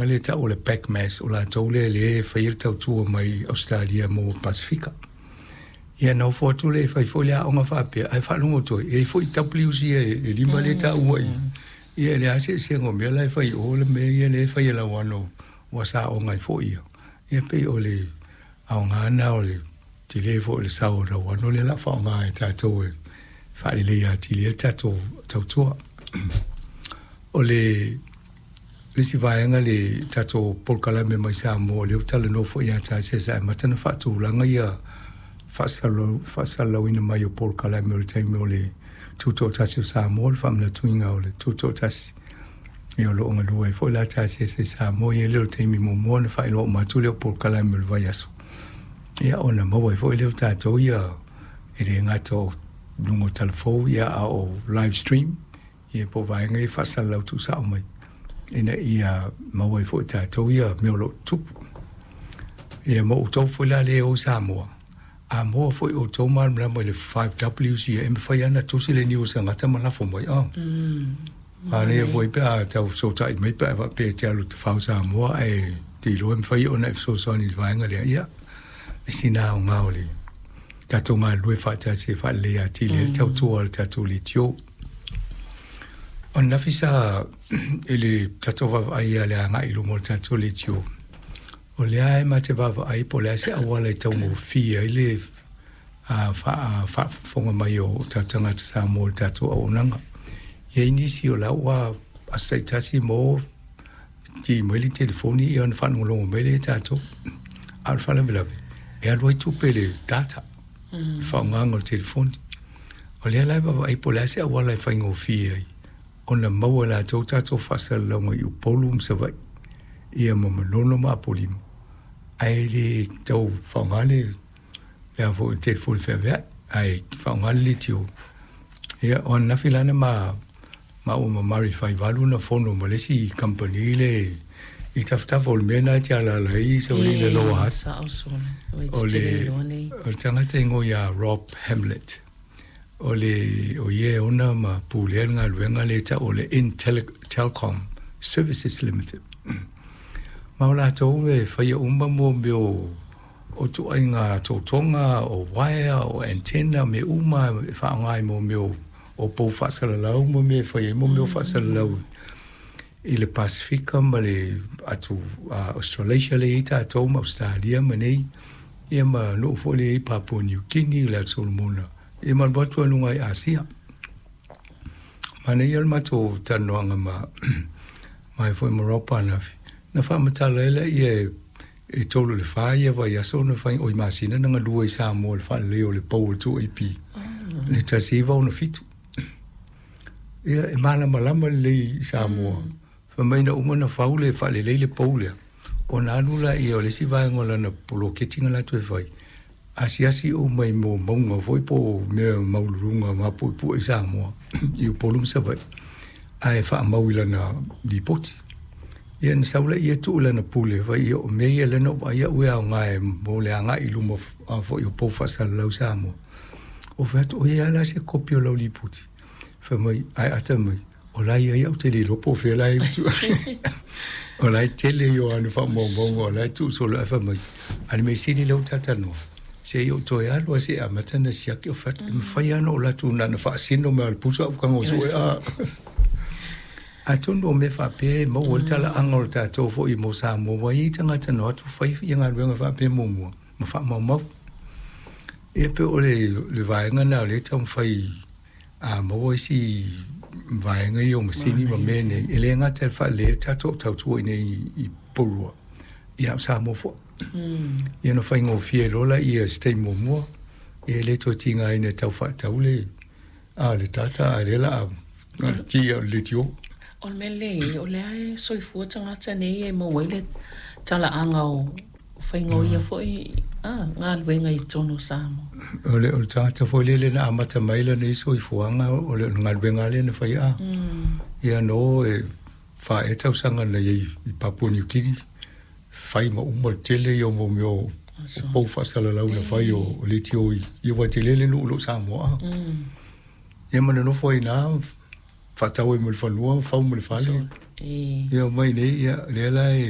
vaega lea e ta'u o le PACMAS, o latou lea lea e faia le tautua mai Ausetalia mo Pasefika. Ia na ofo atu lea e fai foi le aoga faapea, ae faalogo atu ai, e i ai foi Ws ia e lima lea e taua i i. Ia e leai lava se eseesega o mea la e fai i o le mea ia lea e fai e Lauano ua sa aoga ai foi ia. Ia pei o le aoga lena o le tele foi o le sao o Lauano lea o le a faaaoga e tatou e faaleleia atili ai le tatou tautua. O le isi vaega le tatou polokalame mai Samoa, lea ua talanoa foi ia Tasesa e amata ona faatulaga ia faasalalauina mai o polokalame o le taimi o le Tutoatasi o Samoa, le faamanatuina o le Tutoatasi. Ia o lo o galue ai foi la Tasesa i Samoa, ia lea o le taimi muamua ona faailoa uma atu lea o polokalame o le vaiaso. Ia ona maua ai foi lea o tatou ia e le gata o luga o talafou ia a o live stream ia po o vaega ia e faasalalau tuusao mai ina ia maua ai foi e tatou ia mea o lo o tutupu. Ia ma outou foi la lea e o i Samoa, a maua foi outou malamalama i le 5Ws ia, e mafai lava ona tusi le niu o se tagata ma lafo mai. Oh. Manaia foi pe a tau fesootai mai pe a faapea e te alu i Tafao Samoa ae te iloa e mafai ona e fesoasoani i le vaega lea. Ia, le sina aoga o le tatou galulue faatasi e faaleleia atili ai le tautua a le tatou leitio. O ananafi sa i le tatou vaavaai i le agai i luma o le tatou leitio, o lea e ma te vaavaai po o le a se auala e taugofie ai le faafofoga mai o tatou tagata Samoa i le tatou auaunaga. E i ai nisi o la ua aso taitasi mo ki mai le telefoni ia ona faalogologo mai lea i tatou. A o le faalavelave, e alu ai tupe i le data, le faaaogaina o le telefoni. O lea la e vaavaai po o le a se auala e faigofie ai ona maua e latou tatou faasalalauga i Upolu ma Savaii, ia ma Manono ma Apolima, ae le tau faaaoga le a foi telefoni feaveai, ae faaaoga le leitio. Ia, o ananafi la na maua ma Murray Faivalu na fono ma le isi kamupani le i tafatafa o le mea lena e te alaala ai Savaii i le Lower Hutt. O le tagata e igoa ia Rob Hamlett. O le o ia e ona ma pulea le galuega lea e tau o le Intelcom Services Limited. Ma o latou e faia uma mo mea o ituaiga totoga, o uaea, o antenna, mea uma e faaaoga i mo mea o pou faasalalau ma mea e fai ai mo mea o faasalalau i le Pasefika ma le atu Australasia lea e i ai tatou ma Ausetalia ma nei, ia ma nuu foi lea e i ai Papua Niu Kini, le Atu Solomona, ia ma alu atu lava i luga i Asia. Manaia le matou talanoaga ma ma foi ma Rob ananafi, na faamatala ai lea e 3 i le 4 ia vaiaso na fai oi masina na galue i Samoa i le faaleleia o le pou o le 2AP le 1967. Ia e malamalama lelei i Samoa. Fai mai na uma na fau le faalelei le pou lea, ona alu laia o le isi vaega o lana poloketi na latou e fai, asiasi uma i mo mauga foi po o mea maualuluga mapuepue i Samoa i Upolu ma Savaii, ae faamau i lana lipoti. Ia na sau laia tuu i lana pule, fai ia o mea ia lea na ou vaai au e aoga e mo le agai i luma foi o pou faasalalau i Samoa. Ou fai atu, o i ai lava la se kopi o lau lipoti? Fai mai, ae ata mai, o la e i ai au te le iloa po o fea la e o la e tele ia o ana faamaumauga o la e tuu solo ae fai mai, a o le mea sili lea ua talatalanoa, se i ou toe alu lava se i amata ona siaki. Ou fai atu, e mafai lava ona ou alu atu na ona faasino mai lava o le pusa au tago sue a. Atonu o mea faapea e maua ai le talaaga o le tatou foi mo Samoa, ua i ai tagata na o atu fai ia galuega faapea muamua ma faamaumau. Ia pei o le vaega lena o lea e taumafai a maua isi vaega ia o masini ma mea nei, e le gata i le faaleleia le tatou tautua i inei i Porirua, ia a o Samoa foi. Ia ona faigofie loa lea i se taimi muamua, ia e le toe tigaina e tau faatau le a le data, a o lea o le a na o le ki lava o le leitio. O le mea lelei, o lea e soifua tagata nei e maua ai le talaaga o faiga o ia foi galuega i totonu o Samoa. O le tagata foi lele na amata mai lana ia soifuaga, o le galuega lava lea na fai a. Ia no e 4 ea tausaga na i ai i Papua Niu Kini, fai ma uma le tele ia o mo mea o pou faasalalau na fai o leitio i ia aua e tele le nuu o lo o Samoa a. Ia ma nonofo ai i ina, faatau ai ma le fanua, fau ma le fale. Ia omai nei, ia lea la e